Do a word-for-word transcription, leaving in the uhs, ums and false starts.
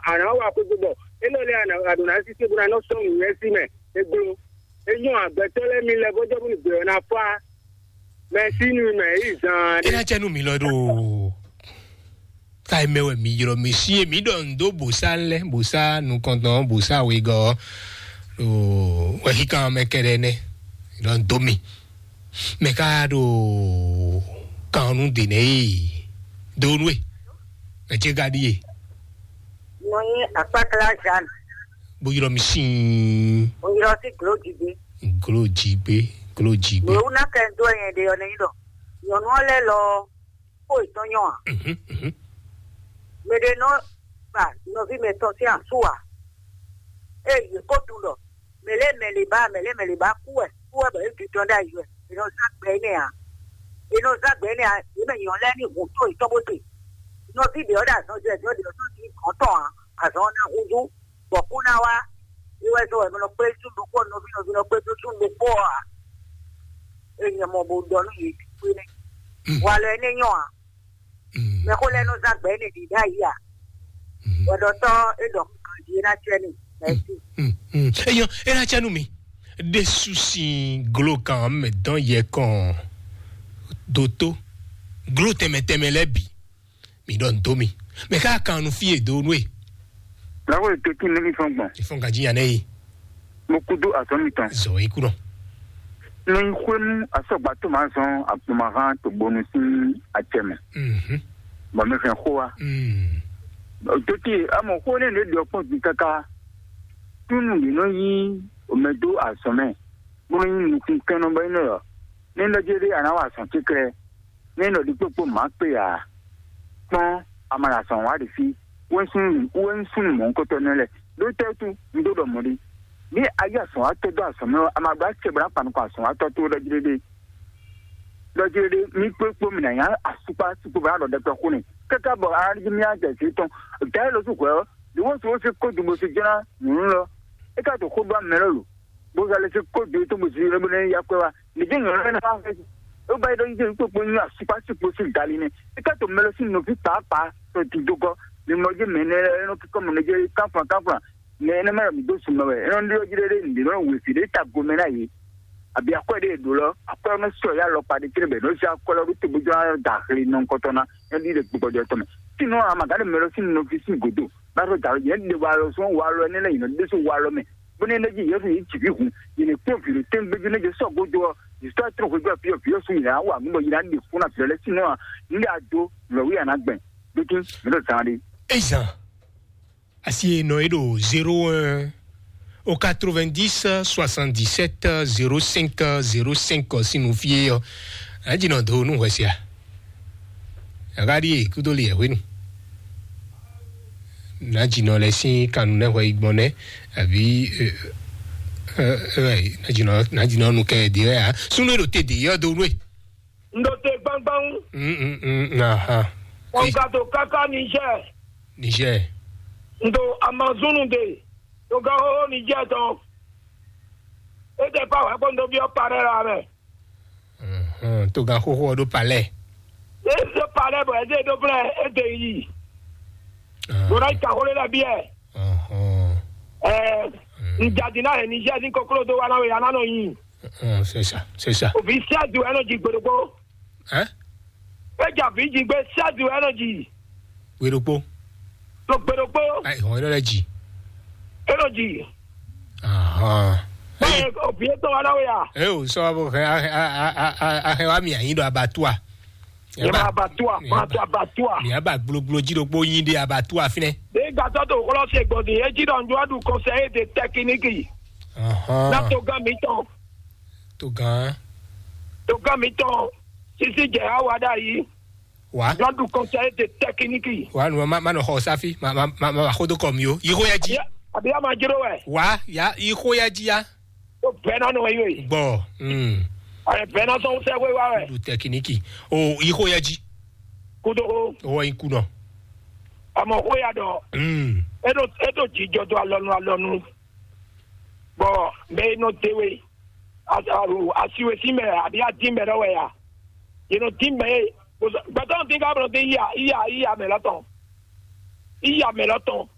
a nǎ wa xwé gbé bɔ é nɔ lɛ́ a nǎ a ɖǒ ná sísé bó ná nɔ sɔ́ nǔnywɛ́ sí mɛ. É gbló. É nyɔ́ agbɛtɔ́ lɛ́ɛ mi lɛ́ bó jɔ bó ní gbě ɔ́ ná fá. Mɛ sí nú mɛ yí zaan É ɖé. Ná cɛ nú mi lɔ ɖo. Ka mɛ wɛ mi ylɔ́ mi sí e mi ɖɔ ndo bòsá lɛ bòsá nukɔntɔn bòsá wegɔ. Ɖo wɛhíkan mɛ kɛɖɛ nɛ. Ɖɔ ndo mi. Mɛ ka ɖo kan nu de nɛ yi. Do nu e. Mɛ ce ka ɖi e. Nɔ nyi akpakla Jeanne. Bo ylɔ́ mi sín. Oyɔ sí glo dzi gbé. Glo dzi gbé. Glo dzi gbé. Mɛ wú ná kɛ dó ɛyɛ ɖe ɔ́ nɛ́ ɖɔ. Nyɔnu ɔ́ lɛ́ lɔ kó yětɔn nyɔ a? Mhm, mhm. Mɛ ɖé nɔ ba nɔví mɛtɔn sín asú a? Ée yě ko tunwun ɖɔ mɛ lɛ́ɛ mɛ lě ba mɛ lɛ́ɛ mɛ lě ba kú wɛ kú wɛ bɔ é ɖu tɔn ɖ'ayǐ wɛ. È nɔ zán gbɛ énɛ́ ǎ. È nɔ zán gbɛ énɛ́ ǎ. Yě mɛ nyɔ̌ lɛ́ɛ ní hun tó yětɔn bó te. Nɔví ɖě ɔ́ ɖo azɔn jɛ ɖě ɔ́ ɖě ɔ́ tó ní gɔ̌n tɔn ǎ. Azɔn ɔ́ ná húzú, bɔ kú ná wá. É wɛ zɔ́n wɛ mɛ nɔ kpé sú ɖokpó nɔví nɔví nɔ kpé sú ɖokpó ɔ́ ǎ. É nyɛ mɔ bó ɖɔ nú yě kpé nɛ́. Walɔ énɛ́ nyɔ ǎ. Mɛ xó lɛ́ɛ nɔ zán gbɛ énɛ́ ɖě ɖ'ayǐ ǎ. Hwɛɖɔtɔ́ é ɖɔ ganjí é ná cɛ n'i. Mɛ̌si. Eyɔn, é ná cɛ nú mi. Ɖésú sín glókan mɛ dɔn yɛ kɔn dótó gló tɛnmɛ tɛnmɛ lɛ́ɛ bǐ. Mi ɖɔ nǔ dó mi. Mɛ ká kan nu fí e dó nú e. Lǎwe tó tín nú mì fɔ́n gbɔn. Ìfɔn ganjí yan nɛ yi. Mo kúdó azɔ̌ mitɔn. Zɔ yi kúnɔ. Ní xwémú asɔgba tó máa zɔn agbomahán togbonu sín acɛ mɛ. Mhm. Bɔ mi hɛn xó wa. Mm. Tó tín amɔ xó nɛ ɖě ɖɔ kpɔn din káká. Túnú yě nɔ yí omɛ dó azɔ̌ mɛ, bó nɔ nyí nukúnkɛnnɔ bɔ é nɔ ɖɔ, ní lɔ jɛ ɖé a nǎ wa azɔ̌ kéklɛ́. Ní nɔ ɖi kpókpó mǎ kpé ǎ. Kpɔ́n, a ma ɖo azɔ̌ wa ɖi fí. Wɛ́nsúnú wɛ́nsúnú mɔ̌hunkɔtɔn nɛ́ lɛ́ɛ. Ɖó tɛ́ wútu un dó ɖɔ mɔ̌ ɖi? Ní a yí azɔ̌watɔ́ dó azɔ̌ mɛ ɔ́, a ma ɖó acɛ bó ná kpa nukɔn azɔ̌watɔ́ towe ɖɔ jí ɖéɖé. Ɖɔ jí ɖéɖé, mí kpó kpó mi ná nyá asukpá sukpó bó ná ɖɔ ɖɛkpɛ xó n'i. Káká bɔ a ná jí mí ná jɛ zǐ tɔn. Dǎ e lɔ sú hwɛ̌ ɔ́, ɖě wǒ sú ó sí kó dun bó sí jlá nyǔnu lɔ. É ka ɖo xó ɖó amɛ lɔ lo. Bó zá lɛ́ sí kó dun é tó bó sí lɛ́ bó ná yá kwɛ́ wá. Mǐ dé nyɔ̌nu lɛ́ɛ ná wá xwɛ. É ba yi ɖɔ yíyí kpókpó nyí asukpá sukpó sín gali nɛ́. É ka to mɛ lɔ sín nɔví pǎpǎ tɔn dindogɔ́. Mi mɔ jí mɛ énɛ́ lɛ́ɛ é nɔ kíkɔ mɔ nɛ́ jɛ kánflan kánflan. Mɛ énɛ́ mɛ ɖɔ mǐ dó sun mɛ wɛ. É nɔ ɖyɔ́ jí ɖéɖé nǔɖé nɔ wěví ɖé ta gomɛ ná yě. Abǐ akwɛ́ ɖé e ɖǒ lɔ, akwɛ́ ɔ́ nɔ sɔ yá alɔkpa ɖé céɖé bɔ è nɔ zé akwɛ́ lɔ ɖó te bó jló ná da axle nɔnkɔtɔn ná, é ɖi ɖe gbɔjɔ tɔn mɛ. Sínɔ amagǎn ɖe mɛ lɔ sín nɔví sín gǔdo, bá sɔ́ da alɔ jɛ ɖe wa lɔ sɔ́ wa lɔ énɛ́ lɛ́ɛ yi nɔ ɖésú wa lɔ mɛ, bónú é nɔ jí Yesu yě ji vǐ hun, yě ní kpɔ́n vǐ ɖo tɛ́ngbéjú nɛ́ jɛ sɔ́ gúdo ɔ́, yě sɔ́ trɔ́n hwebí ɔ́ fí ɔ́, fí ɔ́ sú yě ná wa nǔ bɔ yě ná ɖe fún ná vǐ lɔ lɛ́ɛ sínɔ ǎ, nǔ ɖé a dó, nǔ lɔ wú yě ná gbɛn. Dókín, mǐ ɖo zán ɖé. Ezan. Asi e nɔ e ɖo zéro un au quatre-vingt-dix soixante-dix-sept zéro cinq zéro cinq sín nú fí é ɔ́, nǎ jǐ nɔ dó nú hwɛ sia. Aɣáɖíe kúdó li ɛ̀hwénu. Nǎ jǐ nɔ lɛ sín kanu nɛ́ hwɛ yi gbɔn nɛ́, àbí nǎ jǐ nɔ nu kɛ ɖě wɛ ǎ. Súnú e ɖo te ɖě ɔ́ dó nú e. N ɖo te gbangban. Mm, mm, mm, aha. Ɔn ka to káká Niger. Niger. N ɖo Amazon ɖe. To gán xóxó Niger tɔn. E tɛ pa wɛ kpɔn ɖo biɔ parɛ la mɛ. Mhm, to gán xóxó ɔ ɖo palɛ. E ɖo palɛ bɔ e ɖe ɖo blɛ e ɖe yi. Bɔn na yi ta xó lé la biɛ. Ɔhɔn. Ɛɛ, n jadi na hɛn Niger sín koklo dó wa na we ya na nɔ yin. Ɔn, c'est ça, c'est ça. Òbí sẹ́ẹ̀dù ẹnọ́jì gbèdógbó. Ẹ́? Péjà bí jí gbé sẹ́ẹ̀dù ẹnọ́jì. Gbèdógbó. Tó gbèdógbó. Ẹ ìhàn ẹnọ́ rẹ jì. Ẹnọ́jì. Ahàn. Báyìí òbí tó wa náwó yà. Ẹ ò sọ bó hẹ ahẹ wa mi àyín dọ̀ abattoir. Ẹ bá abattoir, mi máa tó abattoir. Mi á bá gblogblo jí ɖokpó yín dé abattoir fínẹ́. Nígbà tó tó kọ́lọ́ ṣe gbọ̀dì, ẹ jí dọ̀ ń dúró dùn conseiller de technique. Ahàn. Látò gán mi tán. Tó gan. Tó gán mi tán. Sisi jẹ awa dá yìí. Wá. Lọ́dún conseiller de technique. Wá nu ma ma nɔ xɔ sáfí ma ma ma ma xódó kɔ mi o. Yixó ya jí. Àbí a máa jíró wẹ̀. Wá ya yixó ya jí ya. Ó bẹ́ẹ̀ náà nù wẹ̀ yóò. Gbọ́. Mm. Ọ̀rẹ́ bẹ́ẹ̀ náà sọ́n sẹ́ wé wá wẹ̀. Lu tẹkiniki. O yixó ya jí. Kúdó. Owó yín kú nọ. Àmọ́ ó yà dọ̀. Mm. Eɖo eɖo jijɔ dó alɔnu alɔnu. Bɔ mɛ yi nɔ de we. Asiwe sí mɛ àbí adín mɛ lɔ wɛ ya? Yě nɔ dín mɛ e. Gbɛtɔ́ dín ká bɔ dín iya iya iya mɛ lɔ tɔn. Iya mɛ lɔ tɔn.